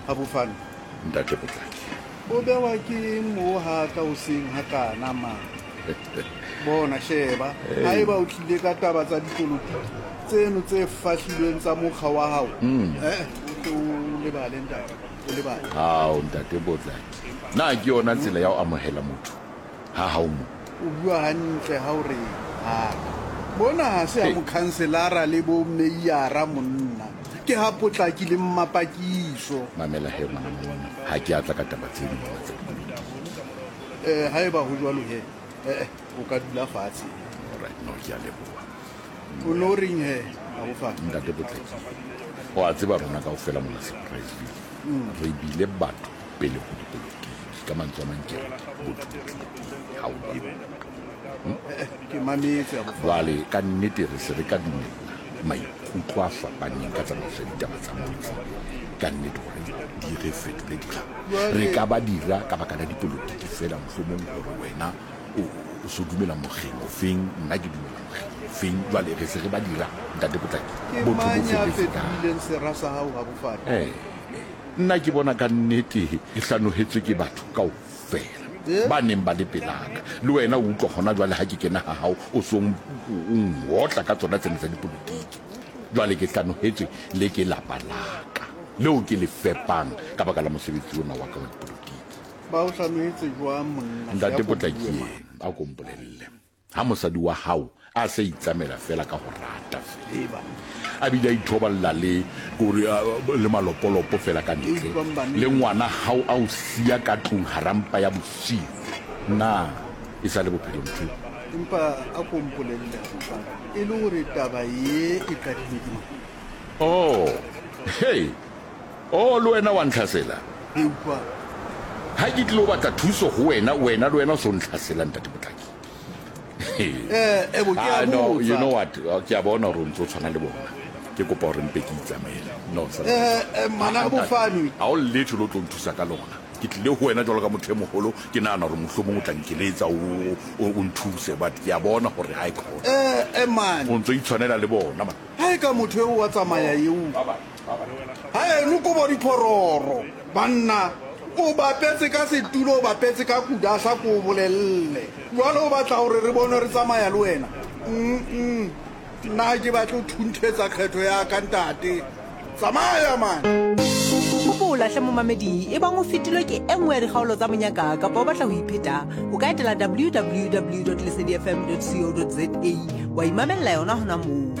Habofane. Ntate Potlaki. O bewa ke eng moo ha ka hoseng hakana man? Bona, sheba, haeba o tlile ka taba tsa dipolotiki tseno tse fahlilweng tsa mokga wa hao, eh, o tle o lebale ntate, o lebale. Hao, ntate Potlaki. Na ke yona tsela ya ho amohela motho ha hao mo? O bua hantle ha o re ha ka. Mona ha se ha mokhanselara le bo meiyara monna. Ke ha Potlaki le Mmapakiso. Mamela he ngwana monna, ha ke a tla ka taba tseno mona tsa dipolotiki. Eh, haeba ho jwalo he, eh, o ka dula fatshe. Alright, no, ke a leboha. O no reng he, Abofane? Ntate Potlaki, o a tseba rona kaofela mona Surpriseville, re bile batho pele ho dipolotiki. Ka mantswe a mang ke re, botho bo tlile pele, ha o leboha. Ke mametse, Abofane. Jwale, ka nnete re se re ka dumella maikutlo a fapaneng ka tsamaiso ya ditaba tsa motse, ka nnete hore di re fetole dira. Re ka ba dira ka baka la dipolotiki feela, mohlomong hore wena o so dumela mokgeng ofeng, nna ke dumela mokgeng ofeng. Jwale re se re ba dira, Ntate Potlaki. Ke Botho bo mang ya felletse kae? fetohileng sera sa hao, Abofane? Eh, nna ke bona ka nnete ke hlanohetswe ke batho kaofela ba neng ba le pelaka. Le wena o utlwa hona jwale ha ke kena ha hao o so o ngotla ka tsona tsena tsa dipolotiki. Jwale ke hlanohetswe le ke lapa la ka leo ke le fepang ka baka la mosebetsi ona wa ka wa dipolotiki. Ba o hlanohetse jwang monna? Ntate Potlaki, a ko mpolelle. Ha mosadi wa hao a se a itsamela feela ka ho rata feela, a bile a ithoballa le kore le malopolopo feela ka ntle, le ngwana hao a o siya ka tlung hara mpa ya bosiu, na e sa le bophelo ntho eo? Empa a ko mpolelle, Mofana, e le hore taba ye e qadilwe ke mang? Oh, hei! Oh, le wena wa ntlhasela? Ke utlwa. Ha ke tlilo batla thuso ho wena, wena le wena o so ntlhasela, Ntate Potlaki. Eh, ebo ke a Ah, no, you botsa. know what? Ke a bona hore o ntse o tshwana le bona. Ke kopa hore mpe ke itsamaele. No, sa Eh, eh, mana Ah, a bofanwe. Ha o letho le o tlo nthusa ka lona. Ke tlile ho wena jwalo ka motho e moholo, ke nahana hore mohlomong o tla nkeletsa o nthuse, but ke a bona hore ha e khona. Eh, eh, man. O ntso itshwanela le bona, man. Ha e ka motho eo wa tsamaya eo. Ha eno kobo diphororo, banna. O bapetse ka setulo, o bapetse ka kudasa ko o bolelle. Jwale o batla hore re bone re tsamaya le wena? Mm-mm. Nna ha ke batle ho thunthetsa kgetho ya ka, ntate. Tsamaya man! Hopola hle momamedi, ebang o fetilwe ke e nngwe ya dikgaolo tsa Monyaka kapa o batla ho ipheta, o ka etela www.lesedifm.co.za wa imamella yona hona moo.